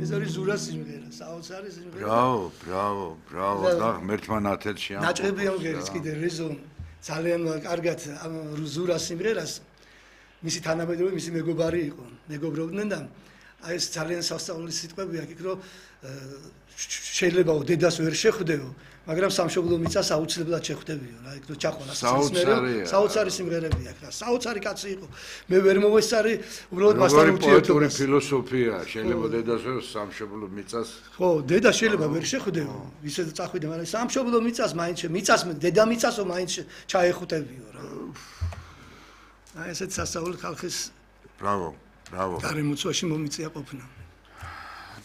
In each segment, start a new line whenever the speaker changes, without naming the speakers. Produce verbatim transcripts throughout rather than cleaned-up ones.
ეს არის ზურას სიმღერა, საოცარი სიმღერა.
ბრავო, ბრავო, ბრავო, და ღმერთმა ნათელში ამ.
ნაჭრები ამღერის კიდე რეზონ ძალიან კარგად ამ ზურას სიმღერას მისი თანამედროვე მისი მეგობარი იყო. მეგობრობდნენ და აი ეს ძალიან სასწაული სიტყვებია იქ რომ შეიძლება დედას ვერ შეხვდეო, მაგრამ სამშობლო მიწას აუცილებლად შეხვდებიო რა, იქ რო ჩახვალა
საოცარი
საოცარი სიმღერებია რა, საოცარი კაცი იყო. მე ვერ მოვესწარი, უბრალოდ მასთან ურთიერთობა.
პოეტური ფილოსოფია, შეიძლება დედას ვერ სამშობლო მიწას.
ხო, დედა შეიძლება ვერ შეხვდეო, ისე წახვიდე, მაგრამ სამშობლო მიწას მაინც მიწას დედა მიწასო მაინც ჩაეხუტებიო რა. აი ესეც სასწაული ხალხის
ბრავო, ბრავო.
გარემოცვაში მომიწია ყოფნა.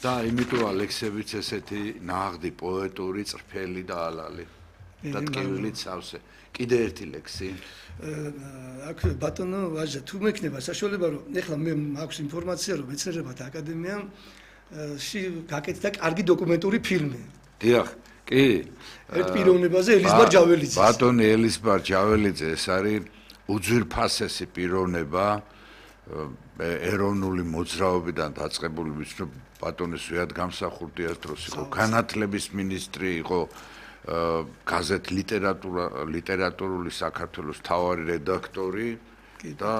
და იმიტომ ალექსევიც ესეთი ნაღდი პოეტური წრფელი და ალალი და ტკივილით სავსე. კიდე ერთი ლექსი.
აქ ბატონო ვაჟა თუ მექნება საშუალება რომ ეხლა მე მაქვს ინფორმაცია რომ მეცნიერებათა აკადემიაში გაკეთდა კარგი დოკუმენტური ფილმი.
დიახ, კი.
ერთ პიროვნებაზე ელიზბარ ჯაველიძე.
ბატონი ელიზბარ ჯაველიძე ეს არის უძვირფასესი პიროვნება ეროვნული მოძრაობიდან დაწყებული ვიცნობ ბატონი სვიად გამსახურდიას დროს იყო განათლების მინისტრი იყო გაზეთ ლიტერატურა ლიტერატურული საქართველოს მთავარი რედაქტორი და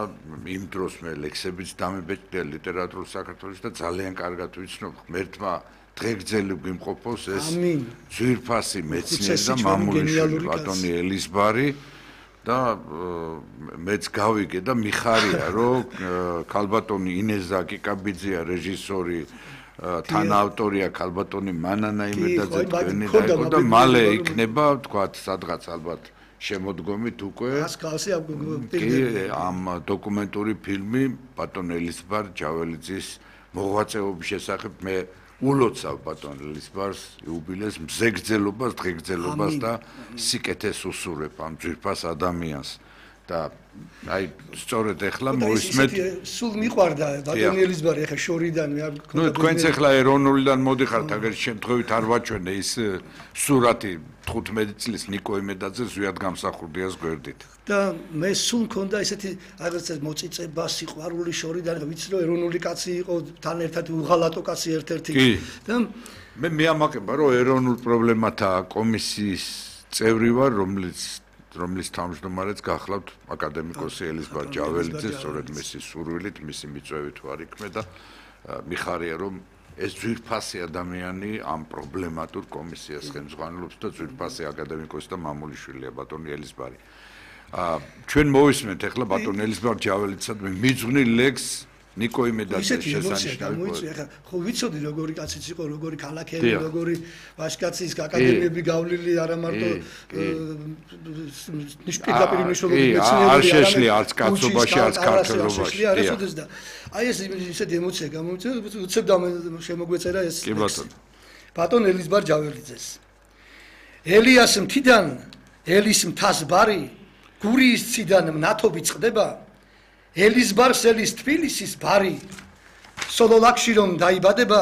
იმ დროს მე ლექსებიც დამებეჭდია ლიტერატურულ საქართველოს და ძალიან კარგად ვიცნობ ღმერთმა დღეგრძელი გვიმყოფოს ეს ძვირფასი მეცნიერი და მამულიშვილი ბატონი ელიზბარი და მეც გავიგე და მიხარია რომ ქალბატონი ინეს ზაკიკაბიძეა რეჟისორი თანაავტორია ქალბატონი მანანა იმედაძე თქვენი დაიყო და მალე იქნება თქვათ სადღაც ალბათ შემოდგომით უკვე ამ დოკუმენტური ფილმი ბატონ ელიზბარ ჯაველიძის მოღვაწეობის შესახებ მე ულოცავ ბატონ ელიზბარს იუბილეს მზეგრძელობას დღეგრძელობას და სიკეთეს უსურებ ამ ძვირფას ადამიანს და აი სწორედ ეხლა მოვისმენთ
სულ მიყვარდა ბატონი ელიზბარი ეხლა შორიდან მე არ
გქონდა ნუ თქვენც ეხლა ეროვნულიდან მოდიხართ აგერ შემთხვევით არ ვაჩვენე ის სურათი თხუთმეტი წლის ნიკო იმედაძე ზვიად გამსახურდიას გვერდით
და მე სულ მქონდა ესეთი რაღაცა მოწიწება სიყვარული შორიდან ვიცი რომ ეროვნული კაცი იყო თან ერთად უღალატო კაცი ერთ-ერთი და
მე მეამაყება რომ ეროვნულ პრობლემათა კომისიის წევრი ვარ რომლის რომლის თავმჯდომარეც გახლავთ აკადემიკოსი ელიზბარ ჯაველიძე სწორედ მისი სურვილით მისი მიწვევით ვარ იქმე და მიხარია რომ ეს ძვირფასი ადამიანი ამ პრობლემატურ კომისიას ხელმძღვანელობს და ძვირფასი აკადემიკოსი და მამულიშვილია ბატონი ელიზბარი. ჩვენ მოვისმენთ ახლა ბატონ ელიზბარ ჯაველიძესადმი მიძღვნილ ლექსს ნიკო იმედაძის შესანიშნავი.
ახლა ხო ვიცოდი როგორი კაციც იყო, როგორი ქალაქელი, როგორი ვაჟკაცის აკადემიები გავლილი არა მარტო ნიშნულაპირი მნიშვნელობით მეცნიერული
არ შეშლი არც კაცობაში არც ქართველობაში.
და აი ეს ისეთი ემოცია გამომიწევს, უცებ შემოგვეწერა ეს ლექსი. ბატონ ელიზბარ ჯაველიძეს. ელიას მთიდან ელის მთას ბარი გურიის ციდან მნათობი წყდება ელიზბარს ელის თბილისის ბარი სოლოლაკში რომ დაიბადება